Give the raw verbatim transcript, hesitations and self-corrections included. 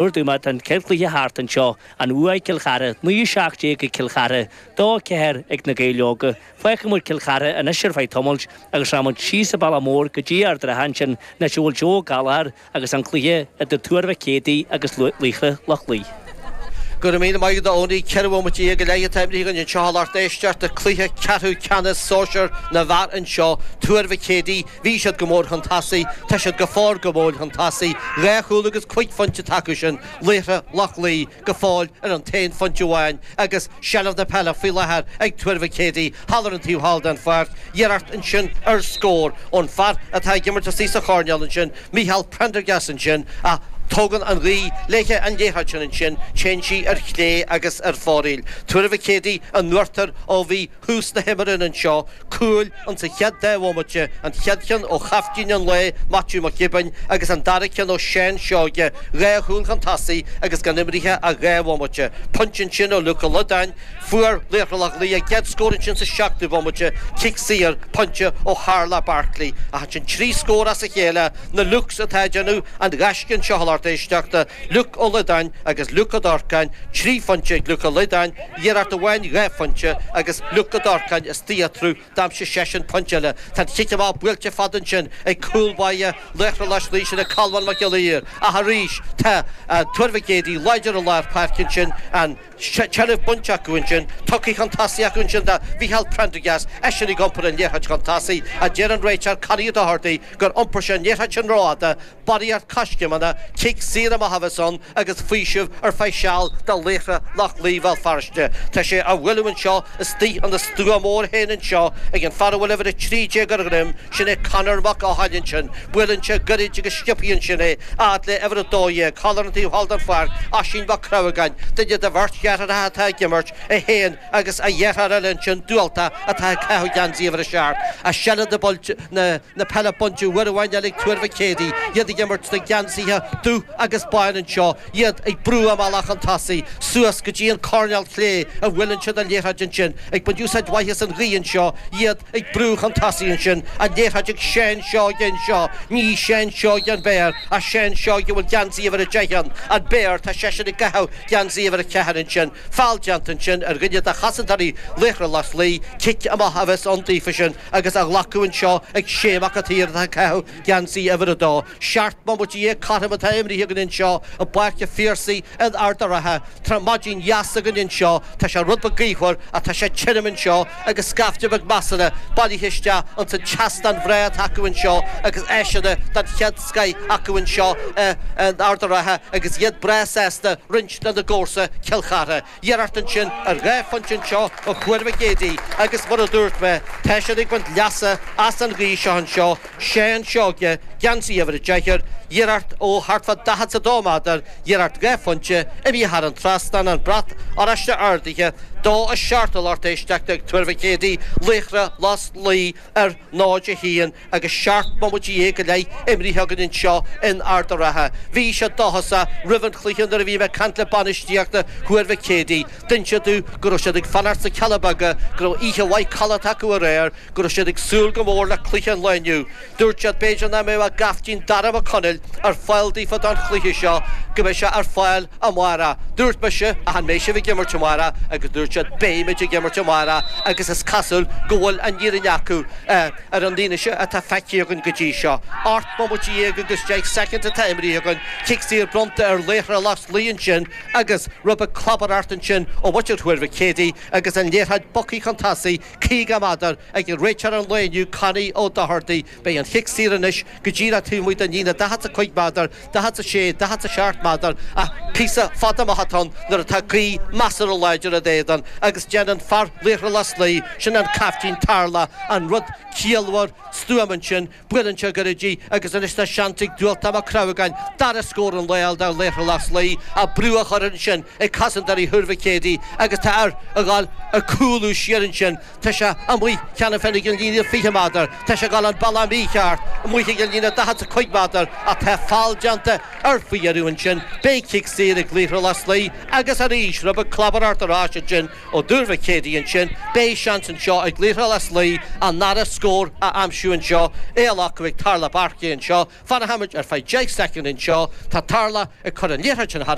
Dúirt mé tá an chéad chluiche thart anseo, an bua ag Cill Chartha, naoi a seacht déag ag Cill Chartha, dó a ceathair ag na Gaeil Óga. Fágfaidh muid Cill Chartha anois ar feadh tamaill agus rachaidh muid síos an bealach mór go dtí Ard an Rátha ansin anois a bhfuil Joe Ó Gallchóir agus an cluiche idir Tuar Mhic Éadaigh agus Laochra Loch Lao. Go raibh míle maith agat a Owenie, ceithre bhomaite déag go leith atá imrithe againn anseo a lucht éisteachta, cluiche ceathrú ceannais sóisear na bhfear anseo, Tuar Mhic Éadaigh, bhí siad go mór chun tosaigh, tá siad go fóill go mór chun tosaigh, dhá chúl agus cúig phointe atá acu sin, Laochra Loch Lao go fóill ar an t-aon phointe amháin agus seilbh na peile faoi láthair ag Tuar Mhic Éadaigh thall ar an taobh thall den pháirc, iarracht ansin ar scór ón fear atá ag imirt istigh sa choirnéal ansin, Micheál Prendergast ansin ach tógann an ghaoth léithe an liathróid sin ansin, téann sí ar chlé agus ar fóraoil. Tuar Mhic Éadaigh in uachtar ó bhí thús na himeartha anseo, cúil insa chéad dá bhomaite, an chéad cheann ó chaiftín an lae, Maitiú Mac Giobúin, agus an dara ceann ó Sheán Seoige, dhá chúl chun tosaigh agus gan imrithe ach dhá bhomaite. Pointe ansin ó Luke Ó Loideáin. Fuair Laochra Loch Lao a gcéad scór ansin sa seachtú bomaite, cic saor, pointe ó Tharlach Barclay. Ach ansin trí scór as a chéile, na Lukes atá ag déanamh an ghaisce anseo a lucht éisteachta, Luke Ó Loideáin agus Luke Ó Dorcáin, trí phointe ag Luke Ó Loideáin, iarracht amháin dhá phointe agus Luke Ó Dorcáin istigh eatarthu, d'aimsigh seisean pointe eile. Tá an chic amach buailte fada ansin ag cúl báire Laochra Loch Lao, sin é Colmán Mac Giolla Ír. Ach arís tá Tuar Mhic Éadaigh láidir i lár páirce ansin, an. tseilbh bainte acu ansin, tugtha chun tosaigh acu ansin do Mhícheál Prendergast, eisean ag iompar an liathróid chun tosaigh, ach deir an réiteoir Connie Doherty gur iompair sé an liathróid sin rófhada, barraíocht coiscéimeanna, cic saor amach a bheas ann agus faoiseamh ar feadh seal do Laochra Loch Lao Bhéal Feirste. Tá sé á bhualadh anseo istigh ina stua mór féin anseo ag an fear a bhfuil uimhir a trí déag ar a dhroim, sin é Conor Mac Eochaidh ansin. Buaileann sé goirid agus sciobtha ansin é, fhad le uimhir a dó dhéag, thall ar an taobh thall den pháirc, Oisín Mac Crabhagáin, duine de bheirt dheartháireacha atá ag imirt, é féin agus a dheartháir eile ansin, Dualta, atá ag caitheamh geansaí uimhir a seacht. Ach seilbh na na peile bainte uair amháin eile ag Tuar Mhic Éadaigh, iad ag imirt sna geansaithe dubh agus bán anseo, iad ag brú a mbealach chun tosaigh, suas go dtí an coirnéal clé a bhuaileann siad an liathróid ansin, ag baint úsáid mhaith as an ghaoth anseo, iad ag brú chun tosaigh ansin, an liathróid ag Seán Seoige anseo, ní Seán Seoige an Béar, ach Seán Seoige a bhfuil geansaí uimhir a deich air, an Béar, tá seisean ag caitheamh geansaí uimhir a ceathair ansin, feall déanta ansin ar dhuine de chosantóirí Laochra Loch Lao, cic amach a bheas ann daofa sin agus á ghlacadh anseo ag Shay Mac an tSaoir atá ag caitheamh geansaí uimhir a dó. Seacht mbomaite dhéag cothrom atá imrithe againn anseo i bPáirc an Phiarsaigh in Ard an Rátha. Tá maidin dheas againn anseo, tá sé rud beag gaothmhar ach tá sé tirim anseo agus scaifte beag measartha bailithe isteach ins an tseastán bhreá atá acu anseo agus áiseanna den chéad scoith acu anseo in Ard an Rátha agus iad breá sásta roinnt lena gcomharsa Cill Chartha. Iarracht ansin ar dhá phointe anseo ó Thuar Mhic Éadaigh agus mar a dúirt mé, tá siad ag baint leasa as an ghaoth seo anseo. Seán Seoige, geansaí uimhir a deich air, iarracht ó thart fá daichead 's a dó méadar, iarracht dhá phointe, imithe thar an trasnán, an brat oráiste ardaithe, dó a seacht a lucht éisteachta ag Tuar Mhic Éadaigh, Laochra Loch Lao ar náid a haon agus seacht mbomaite dhéag go leith imrithe againn anseo in Ard a' Rátha. Bhí siad dóchasach roimh an chluiche nuair a bhí mé ag caint le bainistíocht Thuar Mhic Éadaigh. D'inis domh go raibh siad ag fanacht sna Cealla Beaga, go raibh oíche mhaith codlata acu aréir, go raibh siad ag súil go mór le cluiche an lae inniu. Dúirt siad b'fhéidir nach mbeadh a gcaiftín Dara Mac Conaill ar fáil daofa don chluiche seo, go mbeidh sé ar fáil amárach. Dúirt mise, ach an mbeidh sibh ag imirt amárach? Agus dúirt siad beimid ag imirt amárach agus is cosúil go bhfuil an fhírinne acu ar an fhianaise atá feicthe againn go dtí seo. Ocht mbomaite dhéag agus deich soicind atá imrithe againn, cic saor bronnta ar Laochra Loch Lao ansin agus rud beag clabaireacht ansin ó mhuintir Thuar Mhic Éadaigh agus an liathróid bogtha chun tosaigh caoga méadar ag réiteoir an lae inniu, Connie Ó Dochartaigh. Beidh an chic saor anois go díreach taobh amuigh den líne daichead 's a cúig méadar, daichead 's a sé, daichead 's a seacht méadar, ach píosa fada amach atá ann nuair atá gaoth measartha láidir id éadan agus déanann fear Laochra Loch Lao, sin an caiftín Tarlach, an rud ciallmhar stuama ansin. Buaileann sé gairid í agus anois tá seans ag Dualtach Mac Crabhagáin dara scór an lae a fháil do Laochra Loch Lao ach brú á chur ansin ag cosantóirí Thuar Mhic Éadaigh agus tá air a dhul ag cúlú siar ansin. Tá sé amuigh cheana féin ag an líne fiche méadar. Tá sé ag dul an bealach mícheart amuigh ag an líne daichead 's a cúig méadar ach tá feall déanta air faoi dheireadh ansin. ansin beidh cic saor ag Liathróid Lios Lao agus arís rud beag clabaireacht ar ais ansin ó Dúr Mhic Éadaigh ansin beidh seans anseo ag Liathróid Lios Lao an dara scór a aimsiú anseo é á ghlacadh ag Tarlach Barclay anseo fanfaimid ar feadh deich soicind anseo tá Tarlach ag cur an liathróid sin